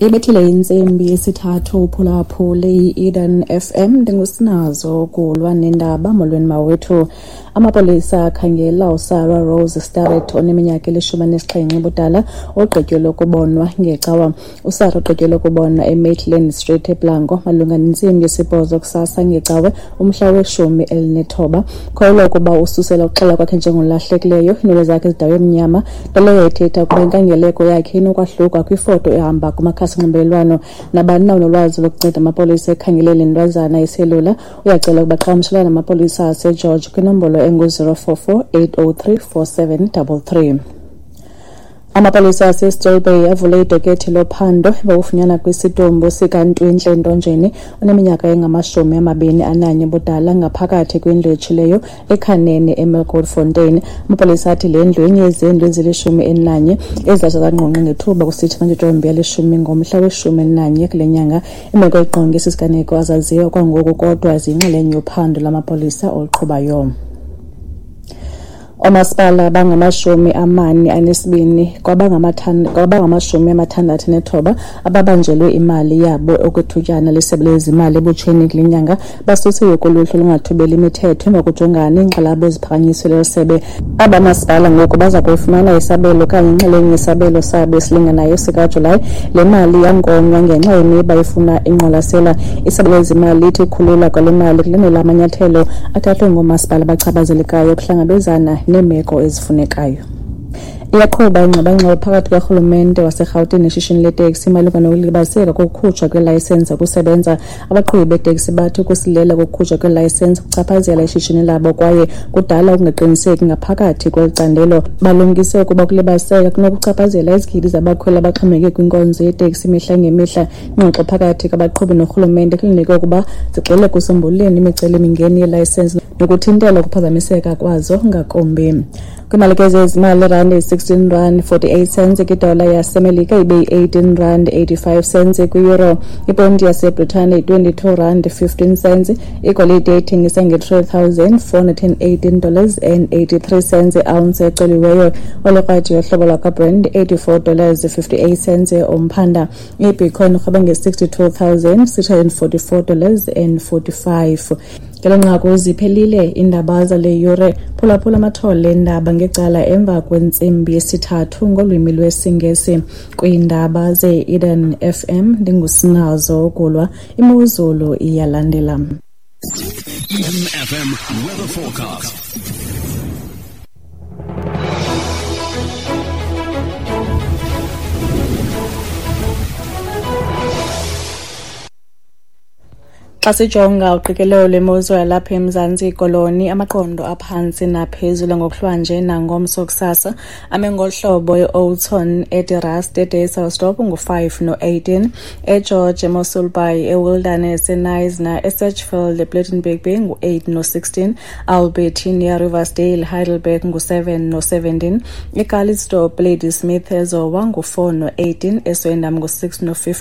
Ibethile intsimbi yesithathu uphulaphule i-Eden FM. Ndingusinazo kulwa nendaba. Molweni mawethu. Amapolisa akhangela uSarah Rose Starrett oneminyaka eli-17 ubudala ogqityelwe ukubonwa ngecawa. USarah ugqityelwe ukubonwa eMaitland Street eBlanco malunga nentsimbi yesibhozo kusasa ngecawe umhla we-19. Kholelwa ukuba ususela ukuxela kwakhe njengolahlekileyo, iinwele zakhe zidaywe mnyama, nto leyo ethetha ukuba inkangeleko yakhe inokwahluka kwifoto ehamba kumakhasi onxibelelwano. Nabani na unolwazi lokunceda amapolisa ekhangele le ntwazana iselula uyacela ukuba qhagamshelana namapolisa aseGeorge kwinombolo engu-044 803 4733. Amapolisa aseStill Bay avule idokethi lophando emva kokufunyanwa kwesidumbu sikaNtwintle Ntonjeni oneminyaka engama-21 ubudala ngaphakathi kwindlu etshileyo eKhaneni eMilkoortfontein. Amapolisa athi le ndlu yenye yezindlu ezili-11 ezatsha zangqongqi ngethuba kusitsha amatyotyombe ali-10 ngomhla we-11 kule nyanga. Imeko egqonge esi siganeko azaziwa kwangoku kodwa ziyinxalenye yophando lwamapolisa oluqhubayo. Oomasipala bangama-42 kwabangamashumi 69 ababanjelwe imali yabo okwethutyana lisebe lezimali ebutsheni kule nyanga basusiwe kuluhlu olungathobeli imithetho emva kojongana neenkxalabo eziphakanyiswe leli sebe. Aba masipala ngoku baza kuyifumana isabelo okanye inxalenye yesabelo sabo esilinganayo sikaJulayi. Le mali yankonywa ngenxa yemiba efuna ingqwalasela. Isebe lezimali lithi ukukhululwa kwale mali kulandela amanyathelo athathwe ngoomasipala abachaphazelekayo ukuhlangabezana neemeko ezifunekayo. Iyaqhuba ingxabangxaba phakathi kukarhulumente waseRhawutini neshishini leteksi malunga nokulibaziseka kokukhutshwa kweelayisensi zokusebenza. Abaqhubi beeteksi bathi ukusilela kokukhutshwa kweelayisensi kuchaphazela ishishini labo kwaye kudala ukungaqiniseki ngaphakathi kweli candelo. Balumkise ukuba ukulibaziseka kunokuchaphazela izigidi zabakhweli abaxhomekeke kwinkonzo yeteksi imihla ngemihla. Ingxoxo phakathi kwabaqhubi norhulumente kulindeleke ukuba zigxile ekusombululeni imicelimingeni yeelayisensi nokuthintela ukuphazamiseka kwazo ngakumbi. Kwimalike zezimali, irandi yi-16 rand 48 cents kwidola yaseMelika, ibe yi-18 rand 85 cents kwi-euro. Iponti yaseBritane yi-22 rand 15 cents. Igolide ithengisa nge-$3,418 dollars and 83 cents iounce ecoliweyo. Olekrwaji yohlobo lwakwaBrent 84 dollars 58 cents umphanda. IBitcoin irhweba nge-$62,644 dollars and 45. Ngelo nqaku ziphelile iindaba zale yure. Phulaphula amathole eendaba ngecala emva kwentsimbi yesithathu ngolwimi lwesiNgesi. Kwiindaba ze-Eden FM ndingusinazo Gulwa. Imozulu iyalandela. Eden FM weather forecast. Xa sijonga uqikelelo lwemozulu yalapha eMzantsi Koloni, amaqondo aphantsi naphezulu ngokuhlwanje nangomso kusasa ame ngolu hlobo: eOudtshoorn, eDe-Rust, eDysselsdorp ngu-5 no-18, eGeorge, eMossel Bay, eWilderness, eKnysna, eSedgefield, ePlettenberg Bay ngu-8 no-16, Albertinia, Riversdale, Heidelberg ngu-7 no-17, eCalitzdorp, Ladysmith, eZowa ngu-4 no-18, eSwellendam ngu-6 no-15.